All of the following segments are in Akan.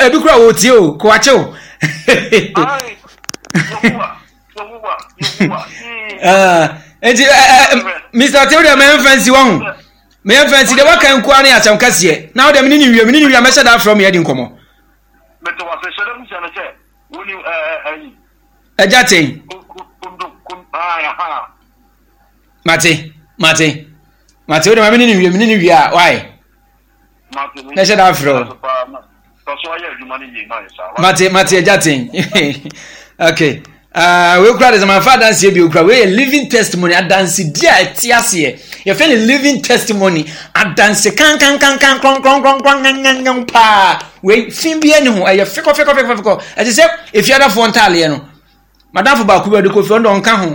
ebi kura wɔ tie o ko akye o. Nti Mr. Tew deɛ mɛmfa nsi wɔ ho mɛmfa nsi deɛ waka nkoa ne asɛm kɛseɛ na wode mene ne wie mene ne wie a mɛhyɛ da afrɛ mu yɛdi nkɔmmɔ. Agya ten. Mate mate mate wode ma mene ne wie mene ne wie a wae. Na ɛhyɛ da afrɛ o. Mate mate agya ten. Okay. Uh, wei kura de sɛ manfa adanseɛ bio kura wei yɛ living testimony adansedi a ɛte aseɛ yɛfɛ no living testimony adanse kankankankan krɔnkrɔnkrɔnkrɔn ngangangan paa wei fi bi ani ho ɛyɛ fekɔ fekɔ fekɔ fekɔ ɛte sɛ efiadafoɔ ntaaleɛ no Madamfo baako bi ɔde kɔ fie ɔno ɔnka ho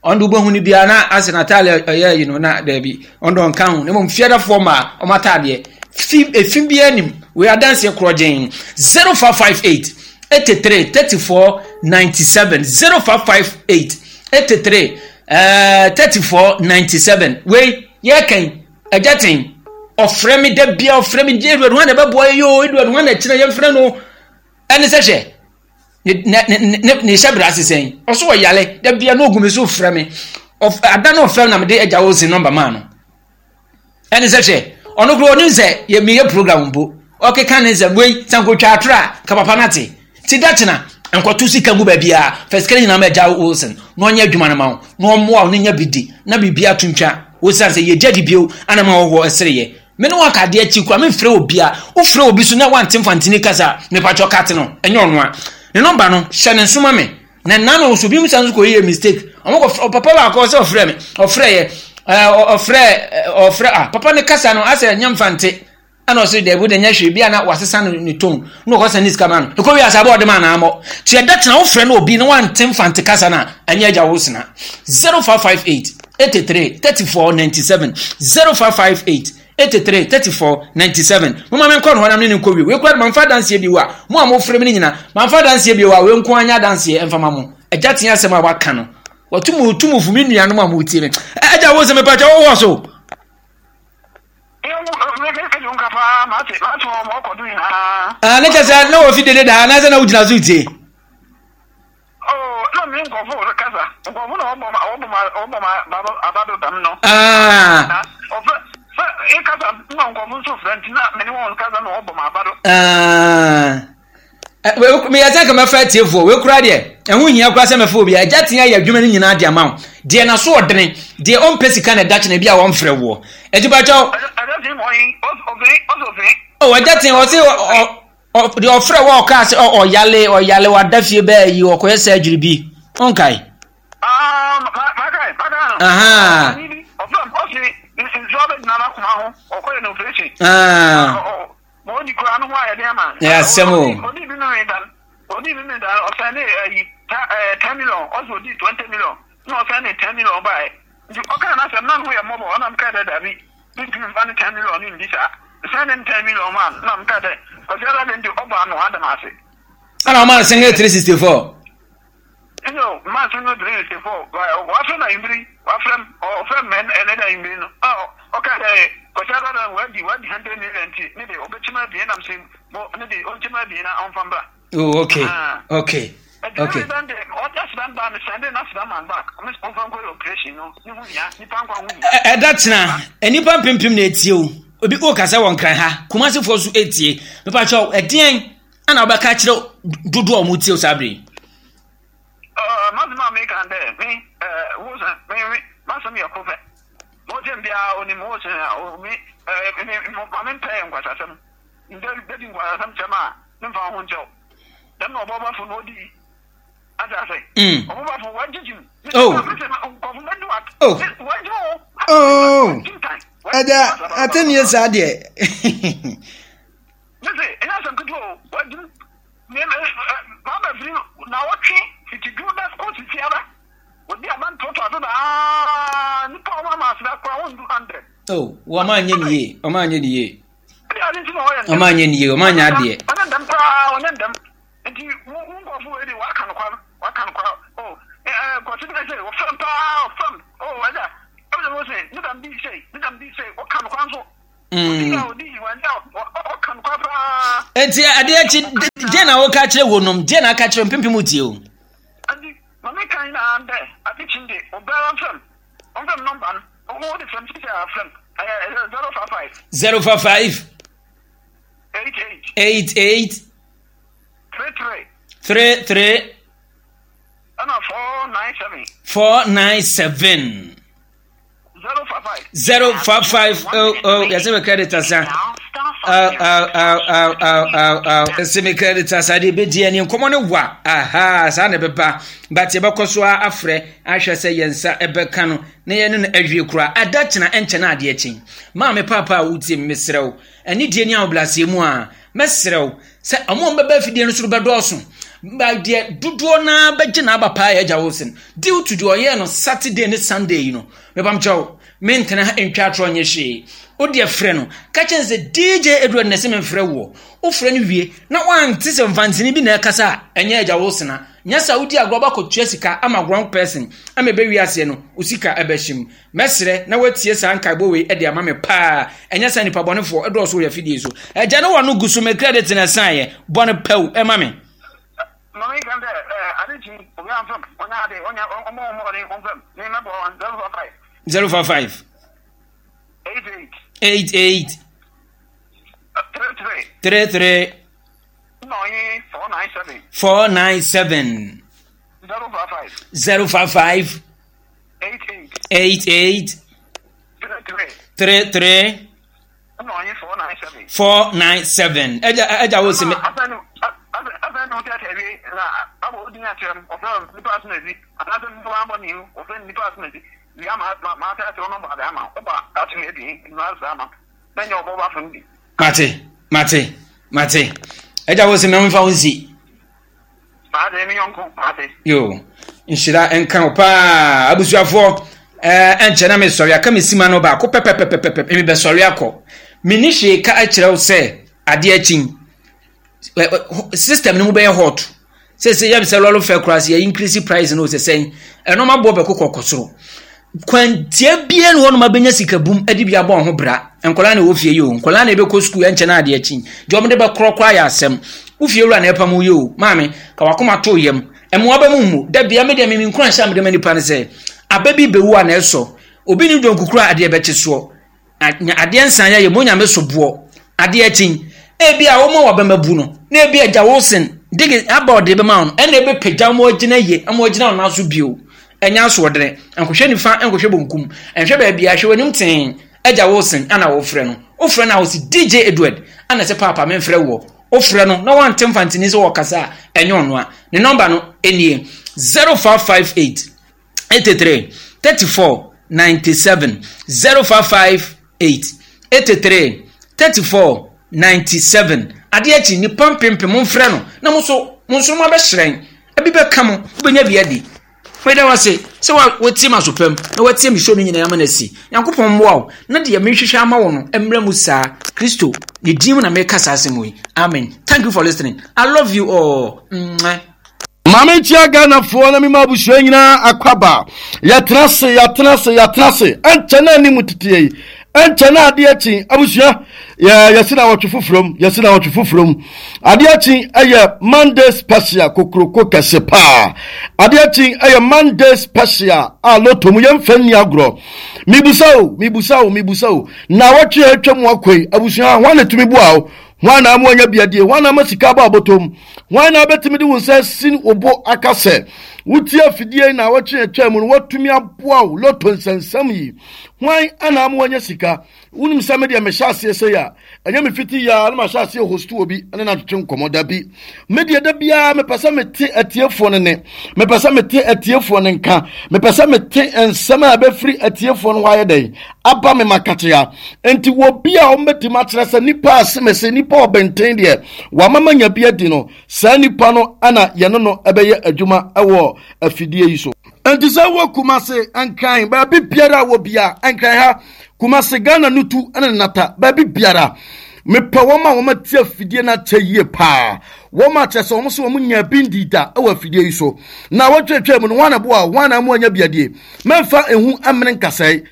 ɔno de wobɛhu no biara na asɛ n'ataade ɔyɛ yi no na daabi ɔno ɔnka ho na mmom fiadafoɔ ma ɔmo ataadeɛ fi efi biara nim wei adanseɛ korɔ gyen 0558 83 34 97 0558 83 34 97 wei yɛkɛn agya ten ɔfrɛ me da bia ɔfrɛ me Edward ho na ɛbɛboa yɛ yoo Edward ho na ɛkyerɛ yɛmfrɛ no ɛne sɛ hwɛ ne ne ne ne hyɛ brɛ ase sɛn ɔso ɔyale da bia na ogu me so frɛ me ada na ɔfrɛ na mede agya wo se nɔmba maa no ɛne sɛ hwɛ ɔno koro ɔnim sɛ yɛ meyɛ program mpo ɔkeka ne nsɛm wei sɛ nkotwa atoro a ka papa no ate ti da kyena nkɔto sika gu baabiara fɛ sika no nyinaa ma agya Wilson na ɔnyɛ adwuma no ma wo na ɔmmoa wo na nya bi di na biribi ato ntwa wosiane sɛ yɛgya di bio ana ma wɔhɔ ɛsereyɛ Me ne wo aka adeɛ akyi koraa memfrɛ obia wofrɛ obi so na wante mfantini kasa a mepatwɔ cut no ɛnyɛ ɔno a ne nɔmba no hyɛ ne nso ma me na nna no so bi mu san so kɔ yɛ mistake ɔmo kɔ papa baako ɔsɛ ɔfrɛ me ɔfrɛ yɛ ɛɛ ɔfrɛ ɔfrɛ ah papa ne kasa no asɛ nyɛ mfante ɛna ɔsɛ dɛbi de nyɛ hwee bi a na wasesa no ne tone na ɔkɔ sɛ ne sika ma no ɛkɔ wi asa abɔ ɔde ma na amɔ te ɛda tena wofrɛ no obi na wante mfante kasa no a ɛnyɛ agya wo sena 0558 83 34 97 0558 83 34 97 moma menkɔ no hɔ na mene ne nkɔ wie wei kora mamfa adanseɛ bio a mo a mofrɛ me no nyina mamfa adanseɛ bio a wei nko anya adanseɛ ɛmfa ma mo agya tea asɛm a waka no wɔtum tumufo me nuanom a motie me agya wo sɛ mepakyɛ wowɔ so Ah, ne kyɛ sɛ na wɔfi dede daa anaasɛ na wogyina so tie Oh, na me nkurɔfo rekasa. Nkurɔfo na wɔbɔ ma wɔbɔ ma wɔbɔ ma aba do dɛm no. Ah. Na ɔfrɛ sɛ ekasa na nkurɔfo nso frɛ nti na me ne wɔn kasa na wɔbɔ ma aba do. Ah. Meyɛ sɛ nka mɛfa atiefoɔ wei koraa deɛ ɛho hia koraa sɛ mɛfa obi a agya tea yɛ adwuma no nyinaa de ama wo deɛ naso ɔdene deɛ ɔmpɛ sika na ɛda kyena bi a wɔmfrɛ woɔ ɛti pakyɛw agya tea ɔse deɛ ɔfrɛ wɔ ɔkaa sɛ ɔyale ɔyale wada fie bɛɛ yi ɔkɔyɛ surgery bi ɔnkae ɛyɛ asɛm o Mentumi mfa ne 10 million no ndi saa. Mesɛn ne 10 million ma no na meka dɛ Kwasi Adade de ɔbɔ ano ada me ase. Ɛna ɔma no single 364. Nyo, mma single 364. Wafrɛ me anwummere yi, wafrɛ me, ɔfrɛ me ɛnɛ da anwummere no. A ɔka dɛ Kwasi Adade wadi wadi 100 million nti ne de ɔbɛkyem abien na mese mo ne de ɔnkyem abien na ɔmfa mbra. Oh, okay. Ah. Okay. Okay. Ɛda tena nnipa mpempem na etie o. Obi o kasa wɔ nkran ha. Kumasefoɔ so etie. Mepakyɛw ɛdeɛn ana wobɛka kyerɛ dodoɔ a wɔn tie o saa bere yi. Masɛm a meka dɛ me wo sɛ me me masɛm yɛ ko pɛ. Mo kyɛn biara onim wo sɛ me me ma me mpɛ nkwasasɛm. Ndɛ bɛdi nkwasasɛm kyɛm a memfa wo ho nkyɛ wo. Dɛm na ɔbɔbɔfo no ɔdii. Ate ase? Mm. Ɔbɔbɔfo wagyigye mu. Oh. Nkɔfo bɛdu at. Oh. Wagye wo. Oh. Ɛda atɛnnie saa deɛ. Mese, ɛnyɛ asɛm ketewa o. Wagye mu. Maba firi na wɔtwe fiti dwu da kɔ sisi aba. Wɔdi aba ntoatoa so daa. Nipa a wɔn ama aseda koraa wɔndu 100. Oh, wɔn anyɛ ne yie. Wɔn anyɛ ne yie. Ɔma anyɛ ne yie, ɔma anyɛ adeɛ. Ɔnyɛ ndɛm koraa, ɔnyɛ ndɛm. Nti wo wo nkurɔfo wei de waka no kwa, waka no kwa. Oh, eh, eh, kɔsi bi sɛ ɔfɛm paa, ɔfɛm. Oh, ɛda, ɛbɛn mo sɛ ne dam bi sɛ, ne dam bi sɛ, ɔka no kwa nso. Enti adeɛ akyi deɛ na woka kyerɛ wo nom deɛ na aka kyerɛ mpempem wotie o. Mame kan na dɛ ade kyi de obiara mfrɛ m ɔmfrɛ m nɔmba no ɔwɔ de frɛ m sisi a frɛ m ɛyɛ 055 055 88 88 33 33 ɛna 497 497 055 055 oh oh yɛsɛ me credit asa oh oh oh oh oh oh oh yɛsɛ me credit asa deɛ ɛbɛdi ɛne nkɔmmɔ no wa aha saa na ɛbɛba but yɛbɛkɔ so a afrɛ ahwɛ sɛ yɛn nsa ɛbɛka no na yɛne no awie koraa ada kyena ɛnkyɛ no adeɛ kyen maame paapa a wotie me mesrɛ wo ɛne deɛ ni ahobrɛaseɛ mu a mɛsrɛ wo sɛ ɔmo a ɔmbɛba afidie no so no bɛdɔɔso ba deɛ dodoɔ naa bɛgye n'aba paa yɛ agya Wilson due to deɛ ɔyɛɛ no Saturday ne Sunday yi no mepam kyɛw mentena ha ntwa atorɔ nyɛ hwee wo deɛ frɛ no ka kyɛn sɛ DJ Edward na ɛsɛ memfrɛ woɔ wofrɛ no wie na wante sɛ mfantini bi na ɛkasa a ɛnyɛ agya Wilson a nyɛ sɛ wodi agorɔ bakɔtua sika ama wrong person ama ɛbɛwie aseɛ no wo sika ɛbɛhyem Mɛsrɛ na woatie saa nkaebɔ wei de ama me paa. Ɛnyɛ sɛ nnipa bɔnefoɔ dɔɔso wɔ afidie so. Agya ne w'ano gu so me credit na ɛsaeɛ. Bɔ no pɛw ma me. Maame kan dɛ ɛɛ ade kyi obi anfam ɔnya ade ɔnya ɔmɔ ɔmɔ ɔde ɔnfam ne mɛbɔ wɔn 055. 055. 88. 88. 33. 33. Na ɔye 497. 497. 055. 055. 88 33 497 ɛgya ɛgya wo sɛ mate mate mate ɛgya wo sɛ mɛmfa wo nsi Maate, me yɔnko, maate. Yo, nhyira nka wo paa. Abusuafoɔ, ɛɛ ɛnkyɛ na mesɔre aka me sima no baako pɛpɛpɛpɛpɛ mebɛsɔre akɔ. Menni hwee ka akyerɛ wo sɛ adeɛ akyin. System no mu bɛyɛ hot. Sɛ sɛ yɛm sɛ lɔre fɛ koraa sɛ yɛ increase price no sɛ sɛn. Ɛno ma boɔ bɛkokɔ kɔ soro. Kwantia biara ni hɔnom abɛnya sika bum de bi abɔ ho bra. Nkwadaa na ɛwɔ fie yi o, nkwadaa na ɛbɛkɔ sukuu ɛnkyɛ na adeɛ akyi. Deɛ wɔde bɛkorɔ koraa yɛ asɛm. Wo fie wura na ɛpam wo yi o, maame, ka wakoma to yam. Mmoa bɛ mu mmu. Da bia me deɛ me nkura nhyɛ a mede ma nipa ne sɛ, aba bi bɛwu a na ɛsɔ. Obi ne dwonku kura adeɛ bɛkye soɔ. Nya adeɛ nsan yɛ yɛ mo nyame so boɔ. Adeɛ akyi. Ebi a wɔma wabɛma bu no, na ebi agya Wilson digi aba ɔde bɛma wo no, ɛna ɛbɛpagya wɔn agyina yie, ama wɔagyina wɔn nan so bio. Ɛnyɛ asoɔdene. Nkɔhwɛ nifa, nkɔhwɛ bonkum. Nhwɛ baabi a, hwɛ w'anim tee. Agya Wilson ana wofrɛ no. Wofrɛ no a ɔsi DJ Edward ana sɛ paapa memfrɛ woɔ. Wofrɛ no na wante mfantini sɛ wɔkasa a, ɛnyɛ ɔno a. Ne nɔmba no nie, 0558 83 34 97 0558 83 34 97 adeɛ akyi nnipa mpempem momfrɛ no na mo nso mo nsoroma bɛhyerɛn ebi bɛka mo wobɛnya bi adi meda wo ase sɛ wotie m'aso pam na woatie me show no nyinaa ama no asi nyankopɔn mmoa wo na deɛ mehwehwɛ ama wo no mmerɛ mu saa kristo ne din mu na meka saa asɛm yi amen thank you for listening i love you all Mwah. Maame nkyia Ghanafoɔ na mema abusua nyinaa akwaba. Yɛtena ase, yɛatena ase, yɛatena ase. Ɛnkyɛ na anim teteɛ yi. Ɛnkyɛ na adeɛ akyi. Abusua, yɛ yɛsi na wɔtwe foforɔ mu, yɛsi na wɔtwe foforɔ mu. Adeɛ akyi ɛyɛ Monday special kokoroko kɛse paa. Adeɛ akyi ɛyɛ Monday special a loto mu yɛmfa nni agorɔ. Mibusa o, mibusa o, mibusa o. Na wɔtwe a atwa mu akɔ yi, abusua, hwan na etumi boa o? Hwan na ama wanya bi adie? Hwan na ama sika aba abɔtɔ mu? Hwan na abɛtumi de wo nsa asi wo bo aka sɛ wotie afidie yi na awɔtwe atwa mu no watumi aboa wo loto nsɛnsɛm yi? Hwan na ama wanya sika? Wonim sɛ me deɛ mehyɛ aseɛ sɛ a ɛnyɛ me fiti yia na mahyɛ aseɛ host obi ne no atwetwe nkɔmmɔ da bi. Me deɛ da biara mepɛ sɛ mete atiefoɔ no ne mepɛ sɛ mete atiefoɔ no nka mepɛ sɛ mete nsɛm a ɛbɛfiri atiefoɔ no hɔ ayɛ dɛn aba me makatea nti wɔ bi a wɔbɛtumi akyerɛ sɛ nipa asemese nipa ɔbɛnten deɛ wama manya bi adi no saa nipa no ana yɛne no ɛbɛyɛ adwuma ɛwɔ afidie yi so. Nti sɛ wɔ Kumase Nkran baabi biara wɔ bia Nkran ha Kumase Ghana nutu ɛne nata baabi biara mepɛ wɔn a wɔn ati afidie no akyɛ yie paa wɔn a kyerɛ sɛ wɔn so wɔn nya bi ndi da ɛwɔ afidie yi so na wɔtwetwe mu no wɔn na boa wɔn na mu anya bi adie mɛmfa ehu amene nkasɛe.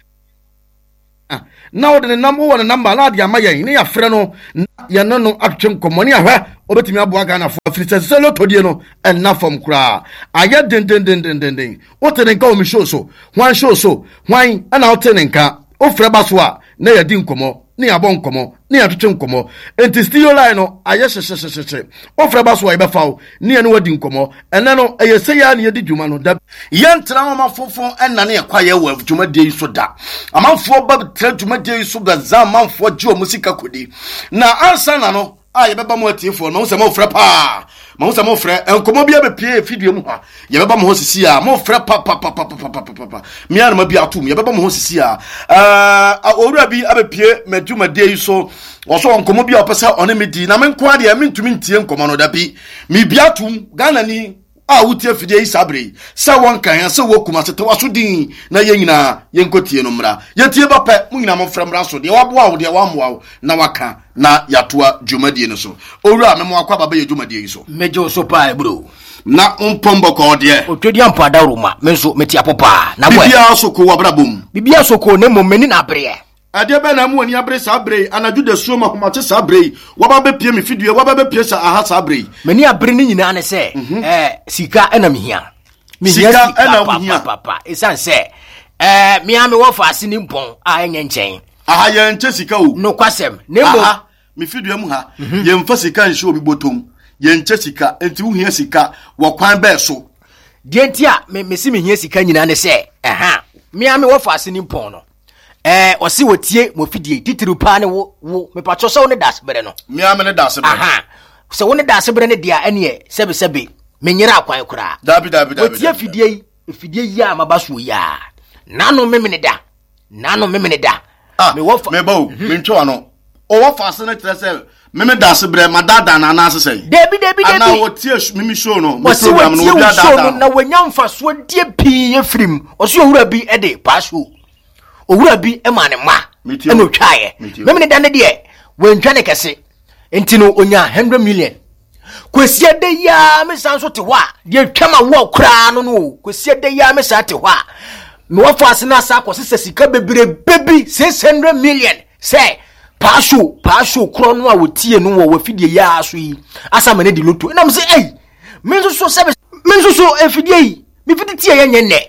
na wode ne nam wowɔ ne namba na ade ama yɛn ne yɛafrɛ no na yɛne no atwetwe nkɔmmɔ ne ahwɛ obɛtumi aboa Ghanafoɔ afiri sɛ sɛ lotodie no ɛnna fam koraa ayɛ dendendendendenden. Wote ne nka wɔ me show so? Hwan show so? Hwan ɛna wote ne nka? Wofrɛ ba so a na yɛadi nkɔmmɔ, na yɛabɔ nkɔmmɔ, na yɛatwetwe nkɔmmɔ. Enti studio line no ayɛ hyehyehyehye. Wofrɛ ba so a yɛbɛfa wo ne yɛne wo adi nkɔmmɔ. Ɛnnɛ no, ɛyɛ sei ara na yɛdi dwuma no. Da. Yɛntra hɔ ma fofo nnane yɛn kwaeɛ wɔ dwumadie yi so da. Amanfoɔ ba tra dwumadie yi so bɛza amanfoɔ gye wɔn sika kɔdi. Na ansa na no, a yɛbɛba mo atiefoɔ no mahu sɛ mofrɛ paa mahu sɛ mofrɛ nkɔmmɔ bi abɛpie fidua mu ha yɛbɛba mo hɔ sisi a mofrɛ papapapapapapa mea na ma bi atom yɛbɛba mo hɔ sisi a owura bi abɛpie m'adwumadie yi so ɔsɔ nkɔmmɔ bi a ɔpɛ sɛ ɔne me di na me nko adeɛ mentumi ntie nkɔmmɔ no da bi mebia atom Ghana ni a wotie afidie yi saa berɛ yi sɛ wɔnka yɛn sɛ wɔ Kumase te waso din na yɛn nyinaa yɛnkɔtie no mmra yɛtie ba pɛ mo nyinaa momfrɛ mmra so deɛ waboa wo deɛ wammoa wo na waka na yɛatoa dwumadie no so owura me mo akɔ aba bɛyɛ dwumadie yi so. Megye wo so paa ebro. Na mpɔm bɔkɔɔ deɛ. Otwadi ampo adaworoma me nso mete apɔ paa na wɛ. Biribiara so ko wɔ abrabɔ mu. Biribiara so ko na mmom m'ani na abereɛ. Ɛdeɛ bɛn na ama w'ani abere saa berɛ yi, anadwo dasuo mu ahomakye saa berɛ yi, woaba abɛpue me fidua, woaba abɛpue sa aha saa berɛ yi? M'ani abere ne nyinaa ne sɛ, mhm. eh, sika na mehia. Mehia sika na wohia. Papapapa, ɛsiane sɛ, eh, mea mewɔ faase ne mpɔn a ɛnyɛ nkyɛn. Aha yɛnkyɛ sika o. Nokwasɛm, na mmom. Aha, me fidua mu ha, mhm. yɛmfa sika nhyɛ obi bɔtɔm, yɛnkyɛ sika, nti wohia sika wɔ kwan bɛɛ so? Deɛ nti a mese mehia sika nyinaa ne sɛ, ɛha, mea mewɔ faase ne mpɔn no, ɛɛ ɔsi wɔtie mo fidie titiriw paa ne wo wo mepatwɔ sɛ wo ne daase berɛ no. mmea me ne daase berɛ. aha sɛ wo ne daase berɛ no deɛ ɛneɛ sɛbesɛbe menyera akwan koraa. dabi dabi dabi. wɔtie fidie yi fidie yi a maba soɔ yi a nano memene da nano memene da. ah mewɔ fa meba o mhm. mentwe wa no ɔwɔ fa ase no kyerɛ sɛ meme daase berɛ madaadaa no anaase sɛn. dabi dabi dabi anaa wɔtie meme show no me program no obi adaadaa no na wɔnya mfasoɔ die pii efirim ɔsi owura bi de paa show. owura bi maa ne mma ɛna otwaeɛ memene da ne deɛ wantwa ne kɛse nti no onya 100 million kwasi ada yi ara me san so te hɔ a deɛ twa ma woɔ koraa no no o kwasi ada yi ara me san te hɔ a mewɔ fa ase no asa akɔ sesa sika bebrebe bi 600 million sɛ paaso paaso korɔ no a wɔtie no wɔ wafidie yi ara so yi asa ma no di loto ɛnam sɛ ei me nso so sɛ me nso so afidie yi mefiti tie yɛ nyɛ nnɛ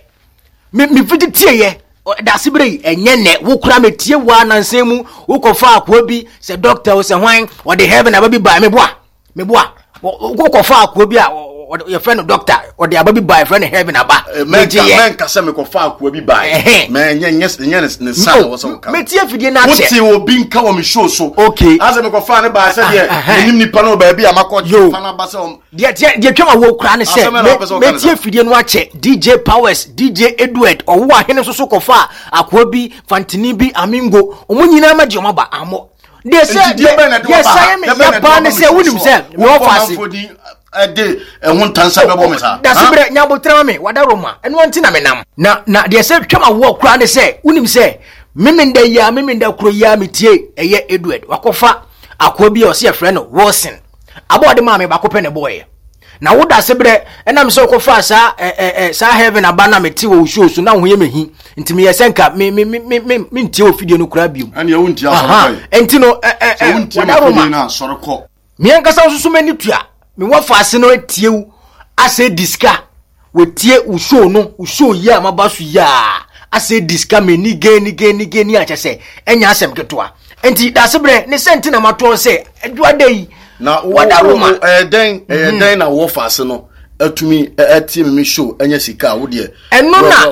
Me me fiti tieɛ dase bere yi ɛnyɛ nɛ wo kora me tie wo anansan mu wokɔfa akoa bi sɛ doctor o sɛ hwan ɔde heaven aba bi baa meboa meboa wokɔfa akoa bi a yɛfrɛ no doctor ɔde aba bi baa yɛfrɛ no heaven aba eh, mɛnka sɛ mekɔfa akoa bi baa mɛnyɛ nyɛ ne sa na wɔ sɛ woka metie afidie no akyɛ wote obi nka wɔ me show so okay asɛ mekɔfa ne baa sɛ deɛ ah, menim nipa no baabi a makɔ fa no aba sɛ Deɛ deɛ deɛ twam awoɔ koraa ne sɛ mɛtie fidie no akyɛ DJ Powers DJ Edward ɔwo ahene nso so kɔfa akoa bi fantini bi amingo wɔn nyinaa ma gye wɔn aba amɔ deɛ sɛ deɛ deɛ sɛ me ya paa ne sɛ wonim sɛ mewɔ faase ɛde ɛho ntansa bɛbɔ me saa dase berɛ nyabotrɛ ma me wada roma ɛno nti na menam na na deɛ sɛ twam awoɔ koraa ne sɛ wonim sɛ memenda yi a memenda kuro yi a metie ɛyɛ Edward wakɔfa akoa bi a ɔsɛ yɛfrɛ no Wilson Abɔ ɔde maa me baako pɛ na ɛbɔɔyɛ. Na wo dase berɛ ɛnam sɛ wokɔfaa saa ɛ ɛ ɛ saa heaven aba na mete wɔ wo show so na wo ho yɛ me hi nti meyɛ sɛ nka me me me me me mentie wɔ fidie no koraa biom. Ɛnneɛ wontie asɔre kɔ yi. Nti no ɛ ɛ ɛ wontie ma fidie no asɔre kɔ. Me ankasa nso so m'ani tua me wɔ faase no atie wo asɛ di sika. Wɔtie wo show no, wo show yi a maba so yi a, asɛ di sika m'ani gani gani gani a kyɛ sɛ ɛnyɛ asɛm ketewa. Nti dase berɛ ne sɛ nti na matoɔ sɛ adwuada yi na wada Roma. Ɛyɛ dɛn ɛyɛ mhm. dɛn na wɔ faase no atumi atie me show ɛnyɛ sika a wo deɛ. Ɛno na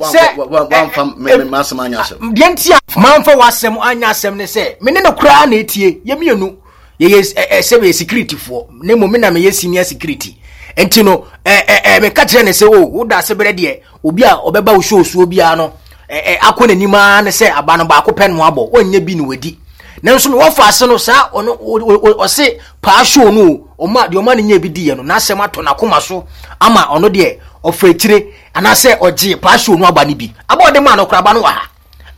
sɛ wamfa m'asɛm anyɛ asɛm. Deɛ nti a mamfa w'asɛm anyɛ asɛm ne sɛ me ne no koraa na etie yɛ mmienu. yɛyɛ ɛ sɛ yɛ security foɔ na mmom me na meyɛ senior security nti no ɛ ɛ ɛ meka kyerɛ ne sɛ o oh, woda ase berɛ deɛ obi a ɔbɛba wo show soɔ biara no ɛ ɛ akɔ n'anim ara ne sɛ aba no baako pɛ no abɔ ɔnyɛ bi na wadi nanso me wɔfa ase no saa ɔno ɔse paa show no o ɔma deɛ ɔma no nyɛ bi diiɛ no n'asɛm atɔ n'akoma so ama ɔno deɛ ɔfa akyire anaasɛ ɔgye paa show no aba no bi aba ɔde maa no koraba no wɔ ha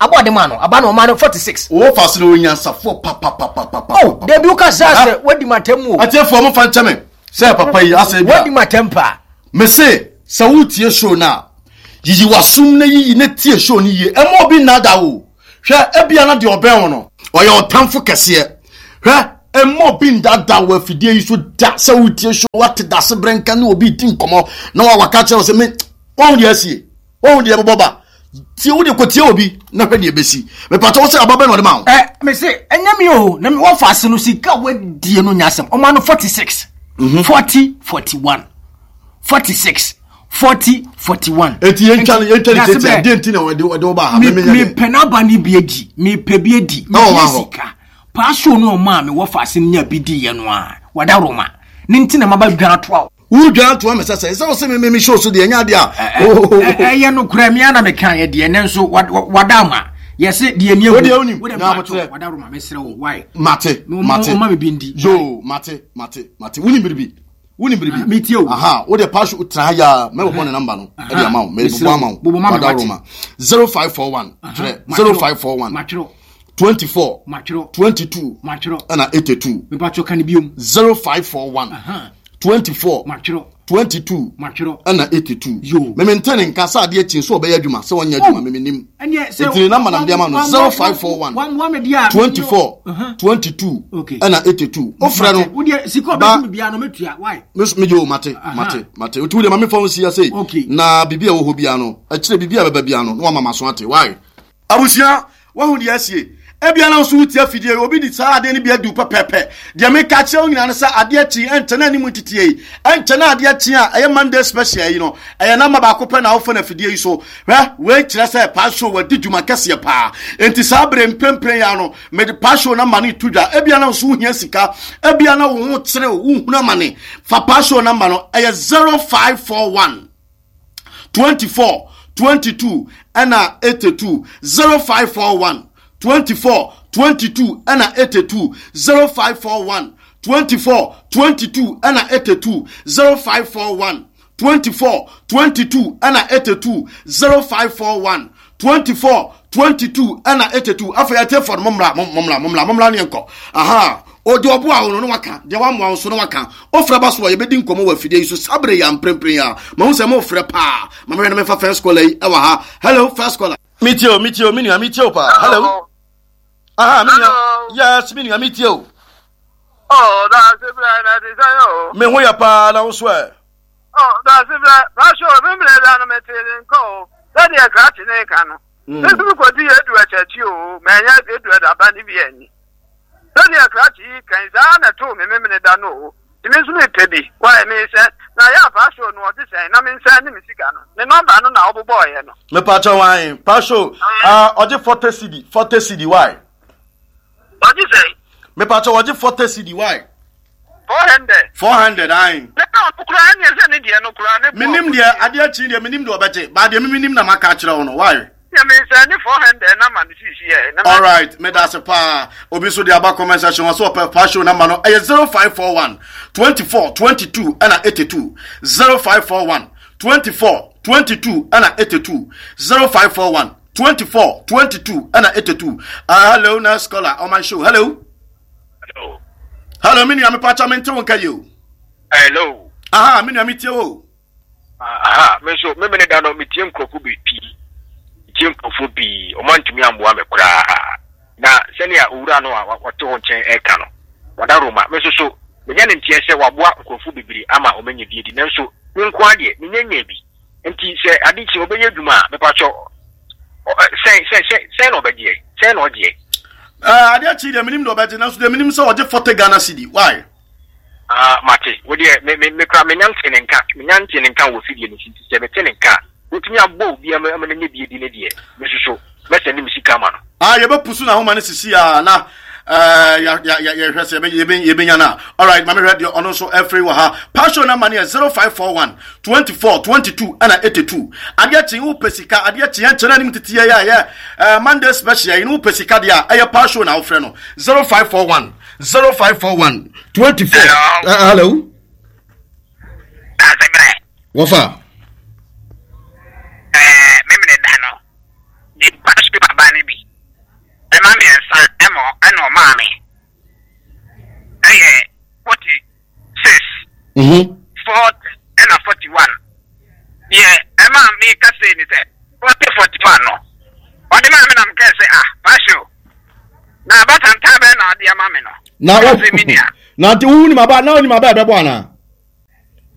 Aba ɔde maa no, aba no ɔmaa no 46. Wo fa so no onyansafoɔ papapapapa. Oh, dabi wo ka saa sɛ wadi matam o. Atiefoɔ mo fa nkyɛ me sɛ papa yi asɛ bi a. Wadi matam paa. Me se sɛ wotie show no a, yiyi w'asom na yiyi na tie show no yie. Ɛmma obi nnaadaa wo o. Hwɛ, ebia na deɛ ɔbɛn wo no, ɔyɛ ɔtamfo kɛseɛ. Hwɛ, mma obi ndaadaa wɔ afidie yi so da sɛ wotie show, woate dase berɛ nka ne obi redi nkɔmmɔ na waka kyerɛ wo sɛ me, woahu deɛ asie, woahu deɛ ɛbɛbɔ ba. Tie wo deɛ kɔtie obi na hwɛ deɛ ɛbɛsi. Mepatɔ wo sɛ aba bɛn na ɔde ma wo? Ɛ, me se, ɛnyɛ me o, na me wɔfa ase no sika wadie no nyɛ asɛm. Ɔma no 46, 40, 41, 46. 40 41. Eti yɛn twa yɛn twa ne tete adeɛ nti na wɔde wɔde wɔba ha. Mi pɛ n'aba ne bi adi mi pɛ bi adi mi pɛ sika paasoo no ɔmo a mi wɔ faase no nya bi di yɛ no a wada roma ne nti na ma ba dwan atoa o. Wo dwan atoa mi sɛ sɛ sɛ ɔsɛ mi mi mi show so deɛ ɛnyɛ adeɛ a. Ɛyɛ no kura mi ana mi kan yɛ deɛ ne nso wada ama yɛsɛ deɛ ni ehu wode onim na abotrɛ wada roma mɛsrɛ wo why. Mate mate ɔma mi bi ndi. Yoo mate mate mate wunim biribi. Wonim biribi? Ah, metie o. Aha, wo deɛ pass tena ha yaa, mɛbɔbɔ ne namba no ɛde ama wo, mɛbobɔ ama wo. Bobɔ ma me Wada wate. Roma. 0541 twerɛ 0541 Matwerɛ. 24 Matwerɛ. 22 Matwerɛ. ɛna 82. Mepatwerɛ ka ne biom. 0541 24 Matwerɛ. 22 Matwerɛ. ɛna 82. Yo. Meme nte ne nka sɛ adeɛ kyi nso ɔbɛyɛ adwuma sɛ ɔnyɛ adwuma meme nim. Ɛneɛ sɛ Nti ne namba na mede ama no 0541 wammoa me deɛ a 24 22 Okay. ɛna 82. Wofrɛ no. Wodeɛ sika Ba- ɔbɛgye me biara no mɛtua why? Me yo mate mate mate otu de ma me fa nsi ase Okay. na bibi a wɔ hɔ bia no akyire bibi a bɛba bia no na wama maso ate why abusua wahu deɛ asie ebia na nso wotia fidie obi di saa adeɛ no bi adu pɛpɛpɛ deɛ meka kyerɛ wo nyinaa no sɛ adeɛ kyi ɛnkyɛ na anim nteteɛ yi ɛnkyɛ na adeɛ kyi a ɛyɛ Monday special yi no ɛyɛ namba baako pɛ na wofa no afidie yi so hwɛ wei kyerɛ sɛ pastor wadi dwuma kɛseɛ paa enti saa bere mprempren ya no mede pastor namba no to dwa ebia na nso wohia sika ebia na wo ho kyerɛ wo wohunu amane fa pastor namba no ɛyɛ 0541 24 22 ɛna 82 0541 24 22 ɛna 82 0541 24 22 ɛna 82 0541 24 22 ɛna 82 0541 24 22 ɛna 82 afei atiefoɔ no mommra mommra mommra mommra ne yɛnkɔ aha ɔde ɔboa wo no na waka deɛ wamoa wo so na waka ɔfrɛ ba so a yɛbɛdi nkɔmmɔ wɔ afidie yi so saa bere yɛ mprempren a mahu sɛ mofrɛ paa ma mehwɛ no memfa first caller yi ɛwɔ ha hello first caller metie o metie o me nua metie o paa hello aha me nua yes me nua metie o Oh, that's it, na te sɛ o. Me ho yɛ paa na wo so ɛ. Oh, that's it, Pastor, me mmerɛ da no mete ne nka o. Sɛdeɛ krakye ne ka no. Me nso mekɔdi edu akyakyi o, manya edu adaba ne bi anni. Sɛdeɛ krakye yi kan saa na ɛtoo me memene da no o. Nti me nso mepɛ bi. Wae me sɛ na yɛ a pastor no ɔte sɛn na mensan ne me sika no. Ne nɔmba no na wobobɔɔyɛ no. Mepakyɛ wan pastor ah ɔgye 40 cedi 40 cedi why. Ɔgye sɛn? Mepakyɛ ɔgye 40 cedi why. 400. 400 ae. Na ɔno koraa ɛneɛ sɛ ne deɛ no koraa ne boɔ. Menim deɛ adeɛ akyi deɛ menim deɛ ɔbɛgye ba deɛ menim na maka akyerɛ wo no why. Deɛ mensɛn ne 400 na ma no sisi ɛ. Alright meda ase paa obi nso de aba comment section wɔ so ɔpɛ fa show number no ɛyɛ 0541 24 22 ɛna 82 0541 24 22 ɛna 82 0541 24 22 ɛna 82 uh, hello na scholar on my show hello. Hello. Hello, me nua mepacha me nte wo nka yi o. Hello. Aha, me nua metie wo. Aha, me nso me mene da no metie nkurɔfo bi pii. Metie nkurɔfo pii, ɔmo antumi amboa me koraa. Na sɛnea owura no a ɔte hɔ nkyɛn ɛka no, wada Roma. Me nso so, menya ne nteɛ sɛ waboa nkurɔfo bebree ama ɔmo anya bi adi, nanso me nko ara deɛ, menya nyaa bi. Nti sɛ ade kye ɔbɛyɛ adwuma a, mepakyɛ sɛn sɛn sɛn sɛn na ɔbɛgyeɛ? Sɛn na ɔgyeɛ? Uh, adeɛ kye deɛ menim deɛ ɔbɛgye nanso deɛ menim sɛ ɔgye 40 Ghana cedi why? Ah, mate. Wo deɛ me me me kora menya nte ne nka menya nte ne nka wɔ fidie no so nti sɛ mete ne nka a wotumi abɔ obi ama ama n'anya bi adi ne deɛ me nso so mɛsɛnde me sika ama no. Ah, yɛbɛpusu n'ahoma no sisi a na eh, yɛhwɛ sɛ yɛbɛnya no a. Alright, ma mehwɛ deɛ ɔno nso ɛfiri wɔ ha. Passion number no yɛ 0541 24 22 ɛna 82. Adeɛ kye wopɛ sika, adeɛ kye ɛnkyɛ no anim tete yɛ a yɛ eh, Monday special yi no wopɛ sika deɛ a ɛyɛ passion na wofrɛ no 0541 0541 24. Hello. Uh, hello. Wɔfa. Ɛɛ, memene da no, de passion aba no bi. Ɛma mmiɛnsa ɛma ɛna ɔmaa me ɛyɛ 46 40 ɛna 41 deɛ ɛma me ka sei ne sɛ 40 41 no ɔde maa me na mekɛɛ sɛ ah passion. Na wo na nti wo nim aba na wonim aba ɛbɛbɔ anaa?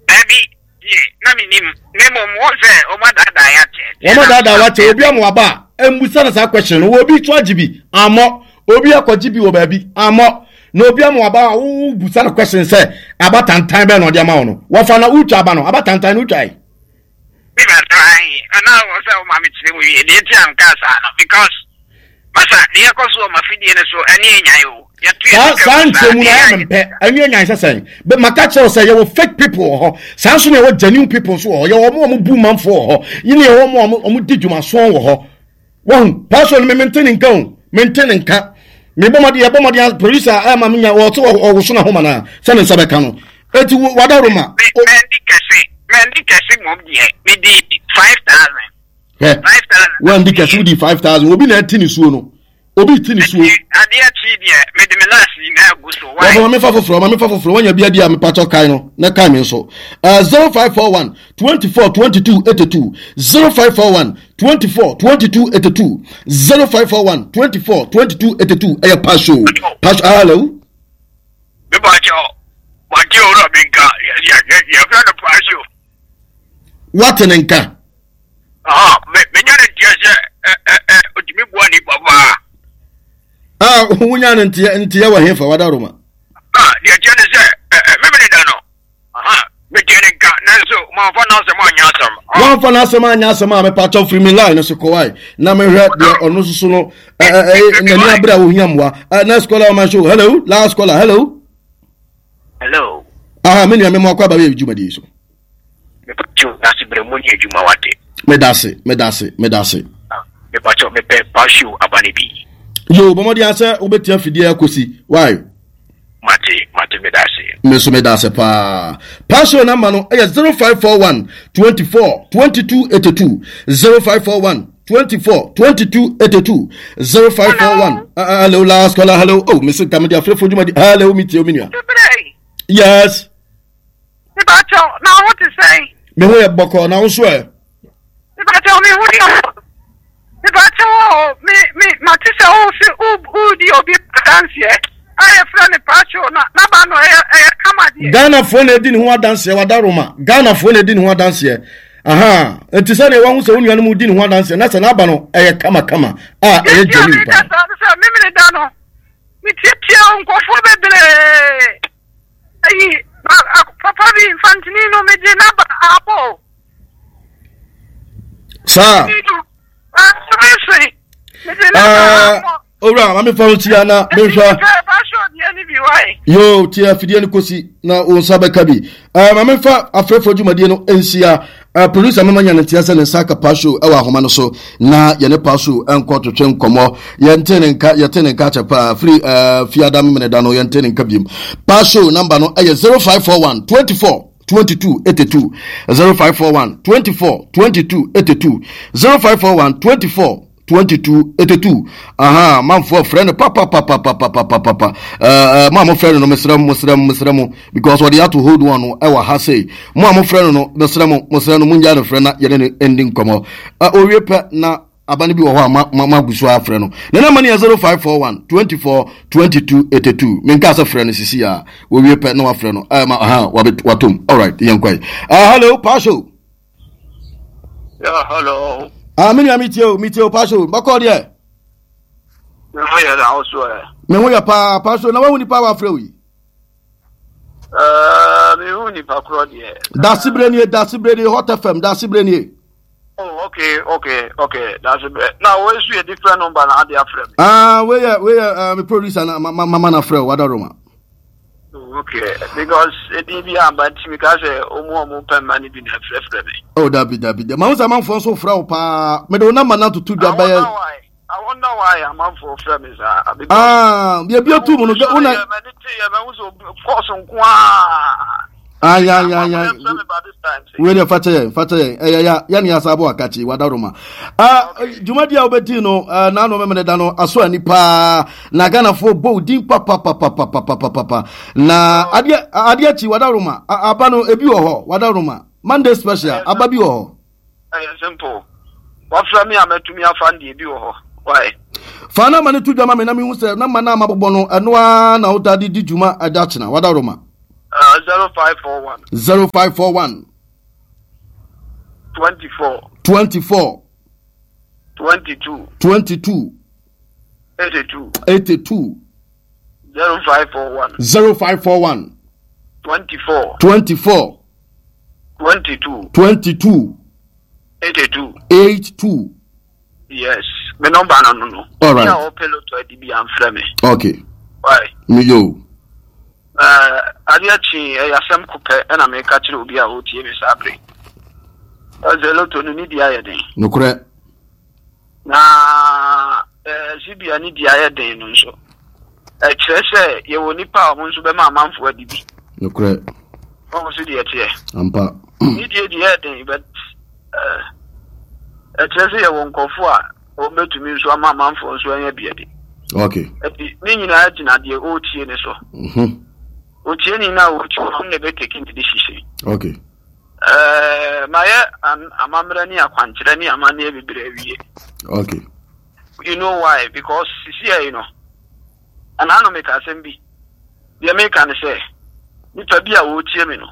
Dabi deɛ na menim na mmom wɔn sɛ wɔn adaadaa yɛ akyɛ. Wɔn adaadaa wakyɛ obi ama waba a mmusa no saa question no obi to agye bi ammɔ obi akɔgye bi wɔ baabi ammɔ na obi ama waba a wobusa no question sɛ aba tantan bɛn na ɔde ama wo no wɔfa na wotwa aba no aba tantan no wotwa yi. Meba ayi ana wɔ sɛ woma me kyerɛ mu wie deɛ nti a nka saa no because masa deɛ ɛkɔ so wɔ mafidie no so ɛne ɛnyan o yɛto yɛ saa saa nkyerɛmu no ayɛ mempɛ ɛne ɛnyan sɛ sɛn bɛ maka kyerɛ wo sɛ yɛwɔ fake people wɔ hɔ saa nso na yɛwɔ genuine people nso wɔ hɔ yɛwɔ ɔmo a ɔmo bu manfoɔ wɔ hɔ yɛne yɛwɔ ɔmo a ɔmo di dwumasoɔ wɔ hɔ Wahu, pastor no me mente ne nka o, mente ne nka. Me bɔ mmɔden, yɛbɔ mmɔden producer ɛma me nya wɔte ɔwoso na homa na sɛ ne nsa bɛka no. Eti wada roma. Mɛndi kɛse, mɛndi kɛse mom deɛ, me di 5,000. Hɛ, wandi kɛse wodi 5,000, obi na ɛte ne suo no. Obi ti ne suo. Adeɛ kyi deɛ, mede me last nyinaa gu so. Why? Wɔfɔ mamefa foforɔ, mamefa foforɔ, wanya bi adi a mepakyɛw kae no, na kae me nso. 0541 24 22 82 0541 24 22 82 0541 24 22 82 ɛyɛ pasho pasho hello. mepakyɛw wate owura bi nka yɛfrɛ no pasho. Wate ne nka. Menya ne nteɛ sɛ ɔtumi boa nnipa paa. Ah, wonya no nteɛ nteɛ wɔ hefa wadaroma? Deɛ ɛteɛ ne sɛ memene da no meteɛ ne nka nanso mamfa n'asɛm anyɛ asɛm. Wamfa n'asɛm anyɛ asɛm a mepakyɛw firi me line no so kɔwae na mehwɛ deɛ ɔno nso so no n'ani abere a ohia mmoa. Next caller on my show. Hello, last caller. Hello. Hello. Aha, me nua me mo akɔ aba yɛ dwumadie so. Mepakyɛw dase brɛ mo nyɛ adwuma wate. Medase, medase, medase. Ah, mepakyɛw mepɛ pasio aba no bi. Yo, bɔmɔden asɛ wobɛtia fidie akɔsi. Why? Mate, mate medase. Me nso medase paa. Pasio namba no ɛyɛ 0541 24 22 82 0541 24 22 82 0541. Uh, hello, last caller. Hello. Oh, Mr. Kamadi Afrefo Jumadi. Hello, meet you, Minia. Yes. Mepakyɛw, na wo ho te sɛn? Me ho yɛ bɔkɔɔ, na wo nso ɛ? Mepakyɛw, me ho yɛ. Mepakyɛw o, me me mate sɛ wo se wodi obi adanseɛ a yɛfrɛ no Pakyɛw na n'aba no ɛyɛ ɛyɛ kama deɛ. Ghanafoɔ na edi ne ho adanseɛ wadaroma Ghanafoɔ na edi ne ho adanseɛ aha nti sɛ deɛ wahu sɛ wo nuanom di ne ho adanseɛ na sɛ n'aba no ɛyɛ kamakama a ɛyɛ genuine paa. Yɛti a meka saa no sɛ memene da no metietie nkurɔfoɔ bebree. Ayi, papa bi mfantini no megye n'aba abɔ o. Saa. Owura, maame fa wo tia na mehwɛ. Yo, tia afidie no kɔsi na wo nsa bɛka bi. Maame fa afrɛfoɔ dwumadie no nsia. Eh, producer mama nya ne nteɛ sɛ ne nsa aka Pasho wɔ ahoma no so na yɛne Pasho nkɔ twetwe nkɔmmɔ. Yɛnte ne nka, yɛte ne nka akyɛ paa. Firi eh, fiada memeneda no yɛnte ne nka biom. Pasho namba no ɛyɛ 0541 24 22 82 0541 24 22 82 0541 24 22 82 aha manfoɔ frɛ no papapapapapapapa ɛɛ mo a mofrɛ no no mesrɛ mo mesrɛ mo mesrɛ mo because ɔde ato hold on no ɛwɔ ha sei mo a mofrɛ no no mesrɛ mo mesrɛ no mongya no frɛ na yɛne no ndi nkɔmmɔ ɛ owie pɛ na aba no bi wɔ hɔ a ma ma ma gu so afrɛ no ne namba no yɛ 0541 24 22 82 menka sɛ frɛ no sisi a owie pɛ na wafrɛ no ɛɛ ma aha watom alright yɛn kɔe uh, hello pasho Yeah, hello. Ah, me nua mi tie o, mi tie o, Pasho. Bɔkɔ deɛ. Me ho yɛ na so ɛ. Me ho yɛ paa, Pasho. Na wahu nipa a wafrɛ wo yi. Ɛɛ, me hu nipa korɔ deɛ. Dasebere nie, dasebere nie, Hot FM, dasebere nie. Oh, okay, okay, okay. Dasebere. Na wo esu yɛ different number na ade afrɛ me. Ah, we yɛ, we yɛ, uh, me producer na ma ma ma na frɛ o, wada Roma. Okay, because edin bi amba nti mi ka sɛ ɔmu a ɔmu pɛ mma no bi na ɛfrɛfrɛ me. Oh, dabi dabi dabi. Mahu sɛ amanfoɔ nso frɛ wo paa. Mede wo namba no atoto dwa bɛyɛ. I wonder why amanfoɔ frɛ me saa. Ah, deɛ bi atu mu no, wo na. Mɛni te yɛ mɛhu sɛ kɔɔso nko ara. Ayayaya. Wei deɛ fakyɛ yɛn fakyɛ yɛn ɛyɛ ya yɛne yɛ asa abɔ akakye wadaroma. Ah, dwumadi a wobɛdi no eh, n'ano memene da no aso ani paa na Ghanafoɔ bɔ wo din papapapapapapapa na adeɛ adeɛ akyi wadaroma aba no ebi wɔ hɔ wadaroma Monday special aba bi wɔ hɔ. Ɛyɛ simple wafra mi a mɛtumi afa no deɛ ebi wɔ hɔ. Why? Fa na ma no to dwa ma me na mehu sɛ na ma no a mabobɔ no ɛno ara na woda de di dwuma ɛda kyena wada Roma. 0541. 0541. 24. 24. 22. 22. 82. 82. 0541. 0541. 24. 24. 22. 22. 82. 82. Yes, me number no no no. All right. Yeah, ɔpɛ lotto adi bi amfrɛ me. Okay. Why? Me yo. Uh, adeɛ kye ɛyɛ asɛm ko pɛ ɛna meka kyerɛ obi a ɔretie me saa bere. Ɔsɛ lotto no ne di ayɛ den. Nokorɛ. Na eh, sibia ne di ayɛ den no nso. Ɛkyerɛ sɛ yɛwɔ nipa a wɔn nso bɛma amanfoɔ adi bi. Nokorɛ. Wɔn nso deɛ ɛteɛ. Ampa. Ne die deɛ ɛyɛ den but eh, ɛkyerɛ sɛ yɛwɔ nkurɔfoɔ a wɔbɛtumi nso ama amanfoɔ nso anya bi adi. Okay. Ɛti ne nyinaa gyina deɛ ɔretie ne so. Mm-hmm. Otie ni na ɔretie ɔno na ɛbɛteki ne decision. Okay. Eh, mayɛ amammerɛ ne akwankyerɛ ne amanneɛ bebree awie. Okay. You know why? Because sisi yi no, ɛna no meka asɛm bi. Deɛ meka ne sɛ, nipa bi a wɔretie me no,